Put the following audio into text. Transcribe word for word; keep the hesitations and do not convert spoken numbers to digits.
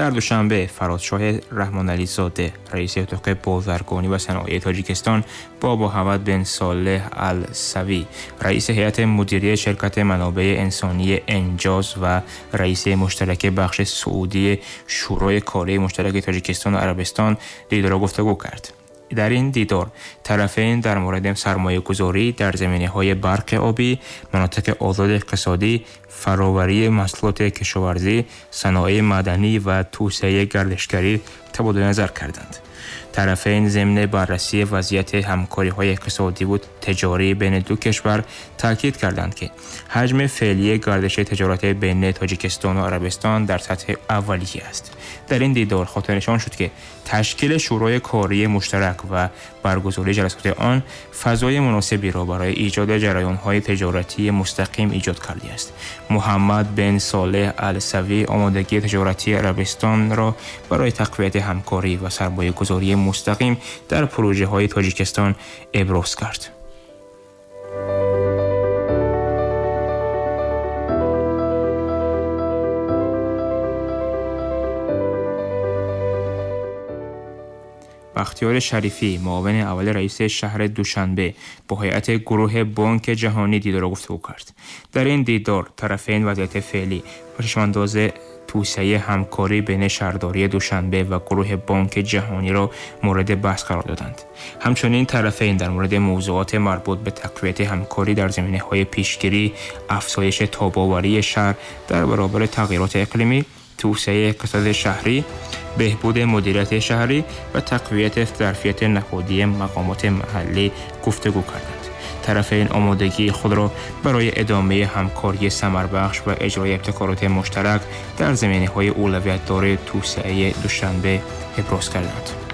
Дар Душанбе Фарозшоҳ Раҳмонализода, раиси اتاق بازرگانی و صنایع تاجیکستان با محمد بن صالح السوی، رئیس هیئت مدیره شرکت منابع انسانی انجاز و رئیس مشترک بخش سعودی شورای کاری مشترک تاجیکستان و عربستان دیدار و گفتگو کرد. در این دیدار طرفین در مورد سرمایه‌گذاری در زمینه‌های برق آبی، مناطق آزاد اقتصادی، فراوری محصولات کشاورزی، صنایع معدنی و توسعه گردشگری تبادل نظر کردند. طرفین ضمن بررسی وضعیت همکاری‌های اقتصادی و تجاری بین دو کشور تاکید کردند که حجم فعلی گردش تجارت بین تاجیکستان و عربستان در سطح اولیه است. در این دیدار خاطرنشان شد که تشکیل شورای کاری مشترک و برگزاری جلسات آن فضای مناسبی را برای ایجاد جریان‌های تجارتی مستقیم ایجاد کرده است. محمد بن صالح السوی آمادگی تجارتی عربستان را برای تقویت همکاری و سرمایه‌گذاری مستقیم در پروژه‌های تاجیکستان ابراز کرد. بختیار شریفی، معاون اول رئیس شهر دوشنبه، با هیئت گروه بانک جهانی دیدار و گفتگو کرد. در این دیدار طرفین وضعیت فعلی و چشم‌انداز توسعه همکاری بین شهرداری دوشنبه و گروه بانک جهانی را مورد بحث قرار دادند. همچنین طرفین در مورد موضوعات مربوط به تقویت همکاری در زمینه‌های پیشگیری، افزایش تاب‌آوری شهر در برابر تغییرات اقلیمی، توسعه اقتصاد شهری، بهبود مدیریت شهری و تقویت ظرفیت نهادی مقامات محلی گفتگو کردند. طرفین آمادگی خود را برای ادامه همکاری ثمربخش و اجرای ابتکارات مشترک در زمینه‌های اولویت‌دار توسعه دوشنبه ابراز کردند.